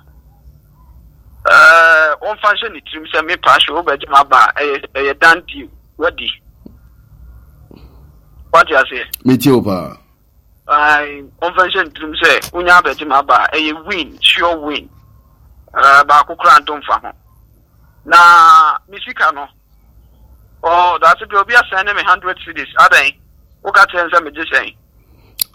ɛɛ wɔmfa nhyɛ ne tirim sɛ me paahye wobɛgye m'aba a ɛyɛ ɛyɛ done deal wadi. Wate aseɛ? Metie wo paa. Ae, wɔmfa nhyɛ ne tirim sɛ wonya abɛgye m'aba a ɛyɛ win, sure win. Ɛɛ baako koraa nto mfa ho. Na me sika no, Oh, daase bi obi asɛn ne me hundred cedis adɛn woka kyerɛ n sɛ megye sɛn.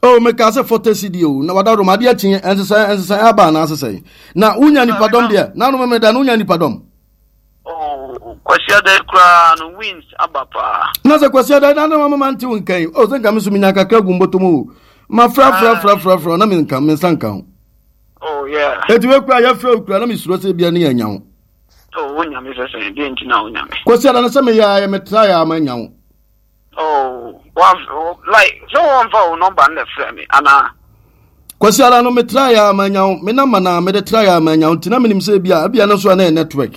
Oh, meka sɛ forty cedi o na wada rom adeɛ kye ɛnsesɛn ɛnsesɛn aba anaa sesɛn na wonya nipadɔm deɛ na no memeda no wonya nipadɔm. Oh, kwasi adan koraa no wins aba paa. Na sɛ kwasi adan na no mama nte wo nkan oh sɛ nka me so menya kakra gu mbɔtɔm o ma fra fra fra fra fra na me nka me nsa nka ho. Oh yeah. Eti we kura yɛfrɛ wo kura na mesuro sɛ bia ne yɛanya wo. Oh, wo nyame sɛ sɛn, deɛ nti na wo nyame. Kwasi ada no sɛ meyɛ ayɛ metra yɛ ama nya wo. Oh, wa like sɛ wɔmfa wo nɔmba no na frɛ me anaa? Kwasi ada no metra yɛ ama nya wo, me namba na mede tra yɛ ama nya wo, nti na menim sɛ ebia ebia no nso a na yɛ network.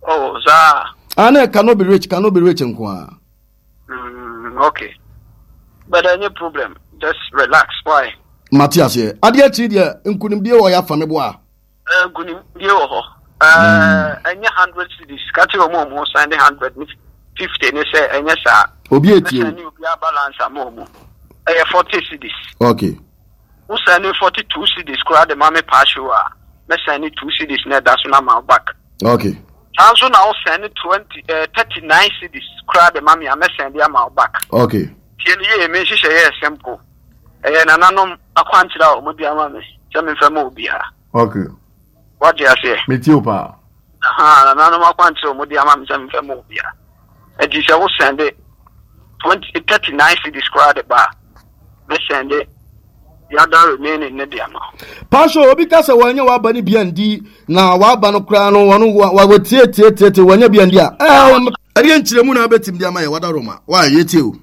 Oh, saa. Ah, na cannot be rich, cannot be rich nko a. Okay. But any problem, just relax, why? Mate aseɛ. Adeɛ akyiri deɛ nkunimdie wɔ yɛ afa me boa. Nkunimdie wɔ hɔ. Ɛnyɛ hundred cedis. Ka kyerɛ wɔn a wɔn san de hundred ne fifty ne sɛ ɛnyɛ saa. Obi etie o. Mɛsɛn ne obiara balance ama wɔn. Ɛyɛ forty cedis. Okay. Wosɛn ne forty two cedis koraa de ma me paahyew a, mɛsɛn ne two cedis na ɛda so na ma back. Okay. Saa nso na wosɛn ne twenty ɛɛ eh, thirty nine cedis koraa de ma me a, mɛsɛn de ama wo back. Okay. Tie ne yie, me nhyehyɛ yɛ simple. Ɛyɛ nananom akwankyerɛ a wɔde ama me sɛ memfa ma obiara. Okay. Wate aseɛ? Metie wo paa. Aha, nananom akwankyerɛ a wɔde ama me sɛ memfa ma obiara. Nti sɛ wo sɛnde 20, 39 cedis koraa de ba a, mɛsɛnde the other remaining ne de ama. Pastor, obi ka sɛ wɔnyɛ w'aba no bi andi na w'aba no koraa no wɔn wɔtie tie tie tie wɔnyɛ bi andi a ɛɛ ɛdeɛ nkyerɛmu na abɛtumi de ama yɛ wada Roma wa yɛtie o.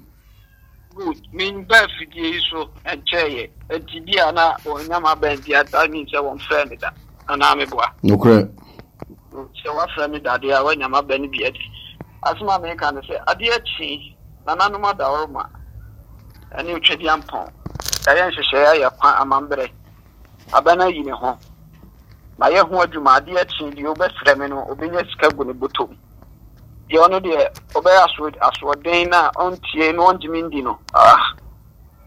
Good, memba afidie yi so nkyɛeɛ, nti bi a na wɔnya m'aba nti a that means sɛ wɔmfrɛɛ me da, anaa meboa? Nokorɛ. Good, sɛ woafrɛ me da deɛ a woanya m'aba no bi adi. Asɛm a meka ne sɛ, adeɛ kye, nananom adaworoma ne Otwadiampɔn, yɛayɛ nhyehyɛeɛ ayɛ kwan amamberɛ, aba no ayi ne ho, mayɛ ho adwuma, adeɛ kye deɛ wobɛfrɛ me no, ɔbɛnya sika gu ne bɔtɔ mu. Deɛ ɔno deɛ ɔbɛyɛ aso asoɔden na ɔntie na ɔntumi ndi no ah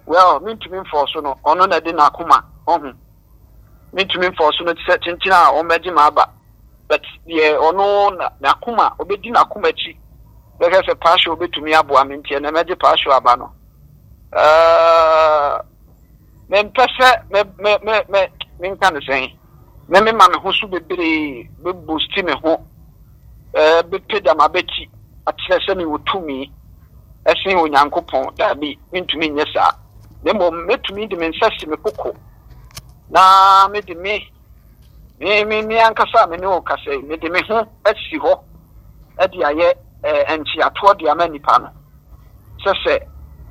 well mentumi mfɔɔso no ɔno na ɛde n'akoma ɔho mentumi mfɔɔso no te sɛ kyenkyen a ɔmmɛgye m'aba but deɛ ɔno na n'akoma ɔbɛdi n'akoma akyi bɛhwɛ sɛ paahwɛ ɔbɛtumi aboa me nti ɛnɛ mɛgye paahwɛ aba no ɛɛ mempɛ sɛ me me me me menka ne sɛn me mema me ho so bebree me boosti me ho ɛɛ bɛpagya m'abati akyerɛ sɛ mewɔ tumi ɛsen Onyankopɔn daabi mentumi nyɛ saa na mmom mɛtumi de me nsa si me koko na mede me me me me ankasa a me ne wo kasa yi mede me ho asi hɔ de ayɛ ɛɛ nkyeatoɔ de ama nipa no sɛ sɛ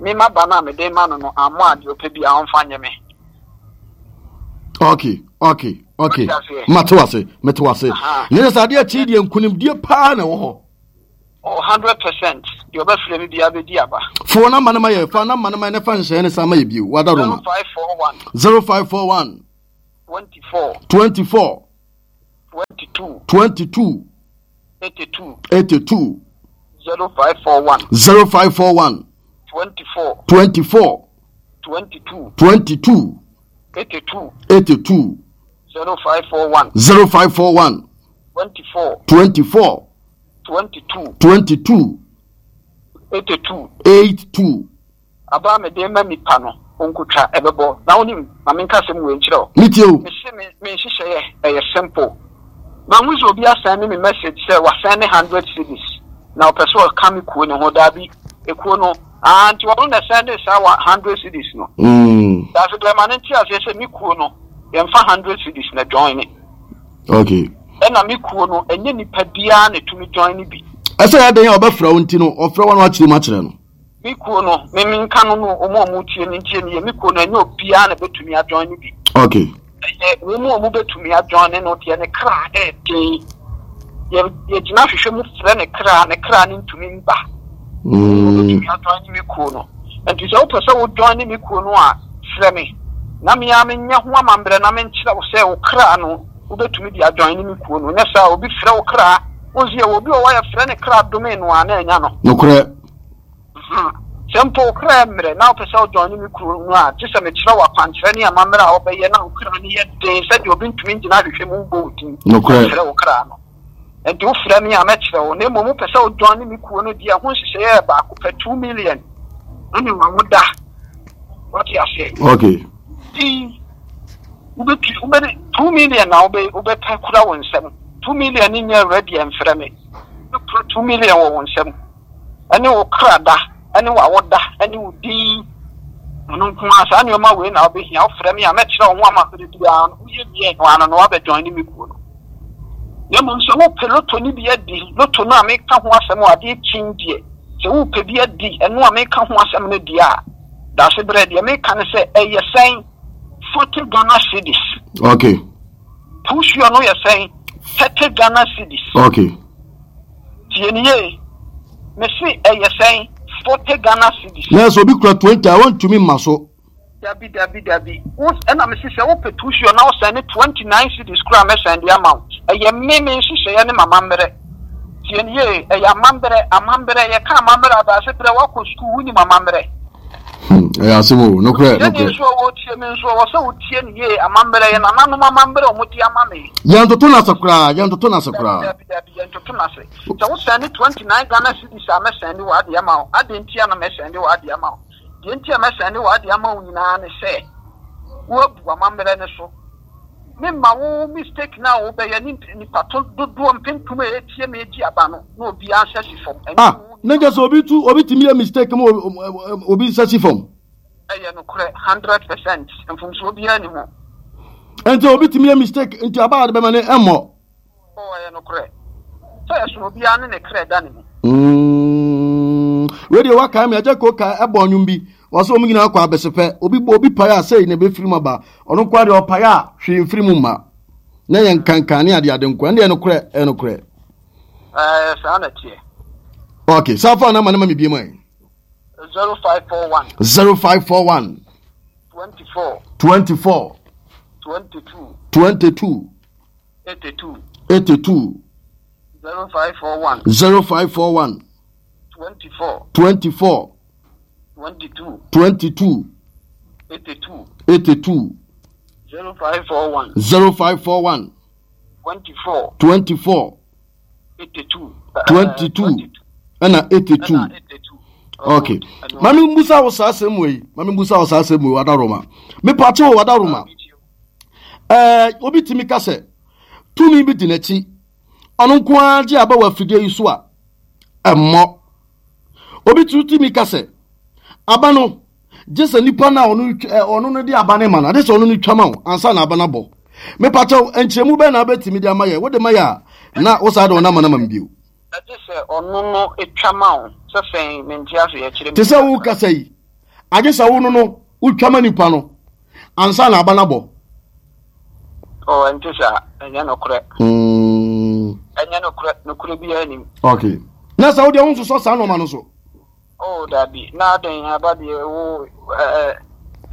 me maba no a mede ma no no ammɔ a deɛ ɔpɛ biara ɔmfa nyɛ me. Okay, okay, okay. Mate wase, mete wase. Ne sɛ adeɛ akyi deɛ nkunimdie paa na ɛwɔ hɔ. Oh, 100%. Deɛ ɔbɛfrɛ me biara bɛdi aba. Fo namba no ma yɛ, fa namba no ma yɛ na fa nhyehyɛeɛ no san ma yɛ bio. Wada Roma. 0541. 0541. 24. 24. 22. 22. 82. 82. 0541. 0541. 24. 24. 22. 22. 82. 82. 0541. 0541. 24. 24. 22. 22. 82. 82. Aba a mede rema nnipa no, wonkotwa, ɛbɛbɔ. Na wonim, ma menka asɛm wei nkyerɛ wo. Metie o. Mese me, me nhyehyɛeɛ, ɛyɛ simple. Mahu sɛ obi asɛnde me message sɛ wasɛnde hundred cedis, na ɔpɛ sɛ ɔka me kuo no ho. Daabi, ekuo no, ah, nti ɔno na ɛsɛnde saa wa hundred cedis no. Mm. Daase brɛ ma no nte aseɛ sɛ me kuo no, yɛmfa hundred cedis na join. Okay. Ɛna me kuo no, ɛnyɛ nipa biara na ɛtumi join bi. Ɛsɛ yɛ dɛn a ɔbɛfrɛ wo nti no, ɔfrɛ wo na wakyerɛ mu akyerɛ no. Me kuo no, me menka no no, wɔn a wɔtie no ntie no yie, me kuo no, ɛnyɛ obiara na ɛbɛtumi adjoin no bi. Okay. Ɛyɛ wɔn a wɔbɛtumi adjoin no deɛ ne kra ɛɛden. Yɛ yɛgyina hwehwɛ mu frɛ ne kra, ne kra no ntumi mba. Wɔbɛtumi adjoin me kuo no. Nti sɛ wopɛ sɛ wo join me kuo no a, frɛ me na me ara menyɛ ho amammerɛ na menkyerɛ wo sɛ wo kra no wobɛtumi de adjoin me kuo no. Nyɛ saa obi frɛ wo kra, wo nso yɛwɔ obi wɔ hɔ a yɛfrɛ ne kra dome no a na anya no. Nokorɛ. Hmm. Sɛ mpo wo kra mmerɛ na wopɛ sɛ wo join me kuro no a, gye sɛ mekyerɛ wo akwankyerɛ ne amammerɛ a wobɛyɛ na wo kra no yɛ den sɛdeɛ obi ntumi ngyina ahwehwɛ mu mbɔ wo din Nokorɛ. mfrɛ wo kra no. Nti wofrɛ me a mɛkyerɛ wo, na mmom wopɛ sɛ wo join me kuo no deɛ, ɛho nhyehyɛeɛ yɛ baako pɛ, 2 million ɛne w'awoda. Wate aseɛ? Okay. Din, wobɛtu, wobɛde, 2 million na wobɛ, wobɛpɛ kura wo nsam. 2 million no nyɛ ready a mfrɛ me. Wobɛkura 2 million wɔ wo nsam. Ɛne wo kra da, ɛne w'awoda, ɛne wo din. Ɛno nko ara, saa nneɛma wei na wobɛhia. Wofrɛ me a, mɛkyerɛ wo ho amammerɛ biara no. Woyɛ wie no ano no, woabɛ join me kuo no. Na mmom sɛ wopɛ loto no bi adi, loto no a meka ho asɛm wɔ adeɛ kyin deɛ, sɛ wopɛ bi adi, ɛno a meka ho asɛm no deɛ a, daase berɛ deɛ meka ne sɛ ɛyɛ sɛn? 40 Ghana cedis. Okay. Pusuo no yɛ sɛn? 30 Ghana cedis. Okay. Tie ne yie. Mese ɛyɛ sɛn? 40 Ghana cedis. Na sɛ obi kura 20 a wɔntumi mma so. Dabi dabi dabi. Wo ɛna mese sɛ wopɛ tusuo na wosɛn ne 29 cedis koraa mɛsɛn de ama wo. Ɛyɛ me me nhyehyɛeɛ ne m'amammerɛ. Tie ne yie, ɛyɛ amammerɛ, amammerɛ, yɛka amammerɛ adaase berɛ woakɔ sukuu wonim amammerɛ. Hmm, ɛyɛ asɛm o, nokorɛ, Tieni nokorɛ. nso a wɔtie me nso ɛwɔ sɛ wotie ne yie, amammerɛ, yɛ nananom amammerɛ a wɔde ama me. Yɛntoto no ase koraa, yɛntoto no ase Dabi koraa. dabi dabi, yɛntoto no ase. Sɛ wosɛn ne 29 Ghana cedis a mɛsɛn de w'adeɛ ama wo. Adɛn nti a na mɛsɛn de w'adeɛ ama wo? Deɛ nti a mɛsɛn de w'adeɛ ama wo nyinaa ne sɛ woabu amammerɛ no so. Memma wo mistake no a wobɛyɛ ne nipa to dodoɔ mpempem a ɛretie me gye aba no na obiara nsa si fam. Ɛnyɛ Ah, wo na nipa kyɛ sɛ obi tu obi tumi yɛ mistake ma obi nsa si fam. Ɛyɛ nokorɛ 100%, mfomsoɔ biara nni ho. Nti obi tumi yɛ mistake nti aba a de bɛma no ɛmmɔ. Oh, ɛyɛ nokorɛ sɛ ɛsono obiara ne ne kra da ne mu. Wei deɛ wakae me agya ko ka ɛbɔ nnwom bi wɔsɛ wɔn nyinaa kɔ abɛsepɛ obi bɔ obi pae a sei na ɛbɛfiri mu aba ɔno nkoa deɛ ɔpae a hwee mfiri mu mma na yɛ nkankan ne adeade nkoa ɛndeɛ nokorɛ ɛyɛ nokorɛ. Ɛɛ saa na ɛteɛ. Ok saa fa na ma ne ma me bie mu ɛ. 0541. 0541. 24. 24. 22. 22. 82. 82. 0541. 0541. 24. 24. 22. 22. 82. 82. 0541. 0541. 24. 24. 82. 22. Ɛna 82. Okay. Mami mbusa wo saa asɛm wei. Mami mbusa wo saa asɛm wei wadaroma. Mepatse wo wadaroma. Ɛɛ obi tumi ka sɛ tumi bi di n'akyi. Ɔno nko ara gye aba wɔ afidie yi so a ɛmmɔ. Obi tumi ka sɛ aba no gye sɛ nipa no a ɔno ɔno no de aba no ma no ade sɛ ɔno no twa ma wo ansa na aba no abɔ. Mepatɛw nkyerɛmu bɛn na wobɛtumi de ama yɛ wode ma yɛ a na wo saa de ɔno ama no ama me bio. Ɛgye sɛ ɔno no twa ma wo sɛ sɛn mente aseɛ kyerɛ me. Te sɛ wo kasa yi agye sɛ wo no no wotwa ma nipa no ansa na aba no abɔ. Oh, ɛnte saa. Ɛnyɛ nokorɛ. Ɛnyɛ nokorɛ. Nokorɛ biara nim. Okay. Na sɛ wodeɛ wonsosɔ saa nɔɔma no so. Oh dabi, na adɛn aba deɛ wo ɛɛ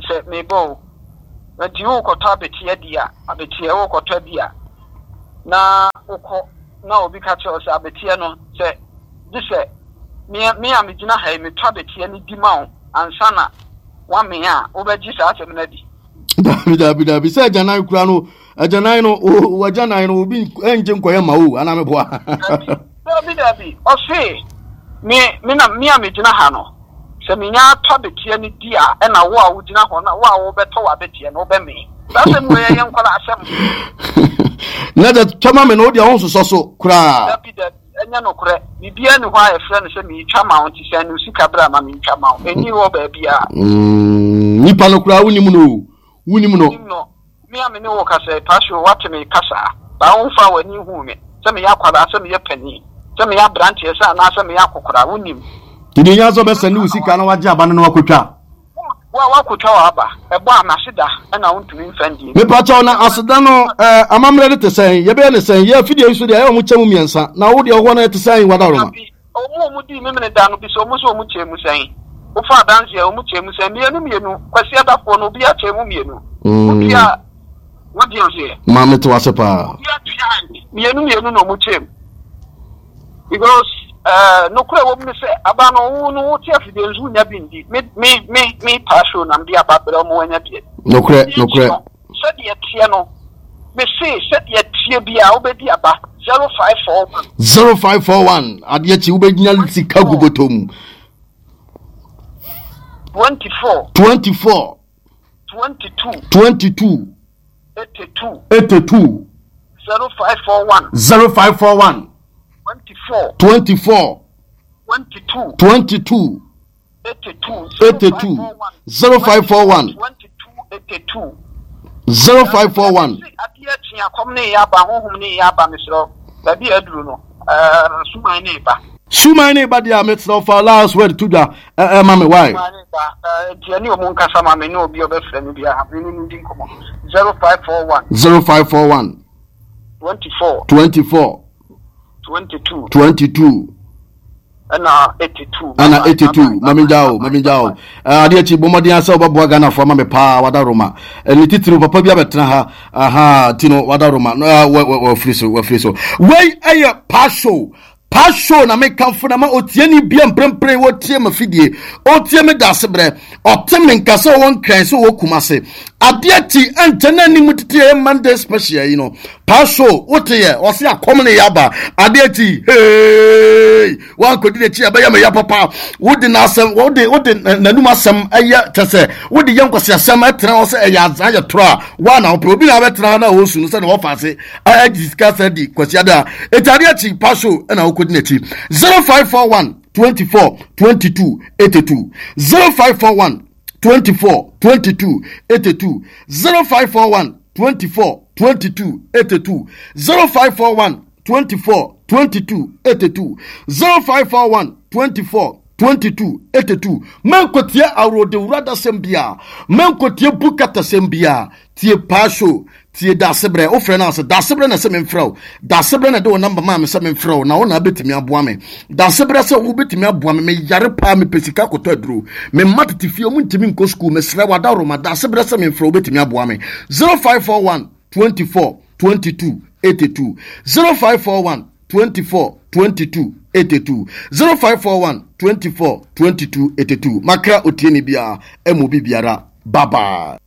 sɛ mebɔ o. Nti wokɔtɔ abeteɛ di a, abeteɛ wokɔtɔ di a, na wokɔ na obi ka kyerɛ wo sɛ abeteɛ no sɛ gye sɛ me me a megyina ha yi metɔ abeteɛ no di ma wo ansa na woamee a, wobɛgye saa asɛm no adi? Dabi dabi dabi sɛ agyanan kura no agyanan no wagyanan no obi ngye nkɔyɛ ma o anaa meboa. Dabi dabi ɔse me me na me a megyina ha no sɛ menya atɔ abeteɛ no di a ɛna wo a wogyina hɔ na wo a wobɛtɔ w'abeteɛ no wobɛmee. Saa asɛm wei ɛyɛ nkwadaa asɛm. Na dɛ twɛma me no wo deɛ wonsosɔ so koraa. Dabi dabi. Ɛnyɛ nokorɛ. Biribiara nni hɔ a yɛfrɛ no sɛ meretwa ma wo nti sɛn no sika bra ma mentwa ma wo. Ɛnni hɔ baabiara. Mm, nipa no koraa wonim no o. Wonim no. Wonim no. Me a me ne wo kasa yi, Pastor, woate me kasa a, baa womfaa w'ani nhuu me, sɛ meyɛ akwadaa, sɛ meyɛ panin, sɛ meyɛ aberanteɛ sɛ anaasɛ meyɛ akɔkoraa, wonim. Nti deɛ ɛhia sɛ ɔbɛsɛnde wo sika na wagye aba no na wakɔtwa. Wo a woakotwa w'aba, ɛbɔ a n'aseda na wontumi mfa ndie. Mepakyɛw na aseda no eh, amammerɛ no te sɛn? Yɛbɛyɛ no sɛn? Yɛ afidie yi so deɛ ɛyɛ wɔn kyɛ mu mmiɛnsa, na wo deɛ hɔ no ɛte sɛn Wadaroma? Dabi, wɔn a wɔdii Memene da no bisa wɔn sɛ wɔn kyɛɛ mu sɛn? Wofa adanseɛ a, wɔn kyɛɛ mu sɛn? Mmienu mmienu, Kwasiadafoɔ no obiara kyɛɛ mu mmienu. Obiara, wote aseɛ? Ma mete wo ase paa. Obiara tuae, mmienu mmienu na wɔn kyɛɛ mu. Because eh, nokorɛ wɔ mu ne sɛ aba no wo no wote afidie nso wonya bi ndi. Me me me me paa show na mede aba brɛ ɔmo anya bi adi. Nokorɛ nokorɛ. Sɛdeɛ teɛ no me se sɛdeɛ teɛ biara wobɛdi aba 0541. 0541 adeɛ kye wobɛnya sika gu bɔtɔ mu. 24. 24. 22. 22. 82. 82. 0541. 0541. 24. 24. 22. 22. 82. 82. 0541. 22 82. 0541. Adeɛ kye akɔm ne yɛ aba honhom ne yɛ aba mesrɛ baabi a aduru no ɛɛ suman ne ba. Suman ne ba deɛ a mesrɛ fa last word to dwa ɛma me why. Suman ne ba nti ɛne ɔmo nkasa ma me ne obi a ɔbɛfrɛ me biara me ne no di nkɔmɔ 0541. 0541. 24. 24. 22. 22. Ɛna 82. Ɛna 82. Mami gya o, mami gya o. Adeɛ akyi bɔ mmɔden asɛ wobɛboa Ghanafoɔ ama me paa wada Roma. Ne titiriw papa bi abɛtena ha. Aha, ti no wada Roma. Wafiri so, wafiri so. Wei ɛyɛ pa show. Pa show na mekamfo na ma otieni bia mprempren wɔtie ma fidie. Otie me da ase berɛ. Ɔte me nka sɛ ɔwɔ nkran sɛ ɔwɔ Kumase. Adeɛ ti ɛnkyɛ na anim tete ɛyɛ Monday special yi no. Pa show wote yɛ ɔse akɔm ne yaba. Adeɛ ti hey wankɔdi n'akyi ɛbɛyɛ me ya papa. Wode n'asɛm wode wode n'anum asɛm ɛyɛ kyɛ sɛ wode yɛ nkwasi asɛm ɛtena hɔ sɛ ɛyɛ azan yɛ torɔ a wa na wopɛ obi na abɛtena hɔ na ɔsu no sɛ na wɔfa ase ɛgye sika sɛ di kwasi ada. Eti adeɛ kyi pa show ɛna wokɔdi n'akyi 0541 24 22 82 0541 24 22 82 0541 24 22 82 0541 24 22 82 0541 24 22 82 Mɛnkɔtie aworodewura dasɛm biara, mɛnkɔtie bukatasɛm biara, tie paa show Tie Daasebrɛ, wofrɛ no ase Daasebrɛ na ɛsɛ memfrɛ wo Daasebrɛ na ɛde wo namba maa me sɛ memfrɛ wo na wo na abɛtumi aboa me Daasebrɛ sɛ wobɛtumi aboa me meyare paa mepɛ sika kɔtɔ aduro me mma tete fie ɔmo ntumi nkɔ sukuu mesrɛ wo adaworoma Daasebrɛ sɛ memfrɛ wo wobɛtumi aboa me 0541 24 22 82 0541 24 22 82 0541 24 22 82 Makra otieni biara ɛmu bi biara bye bye.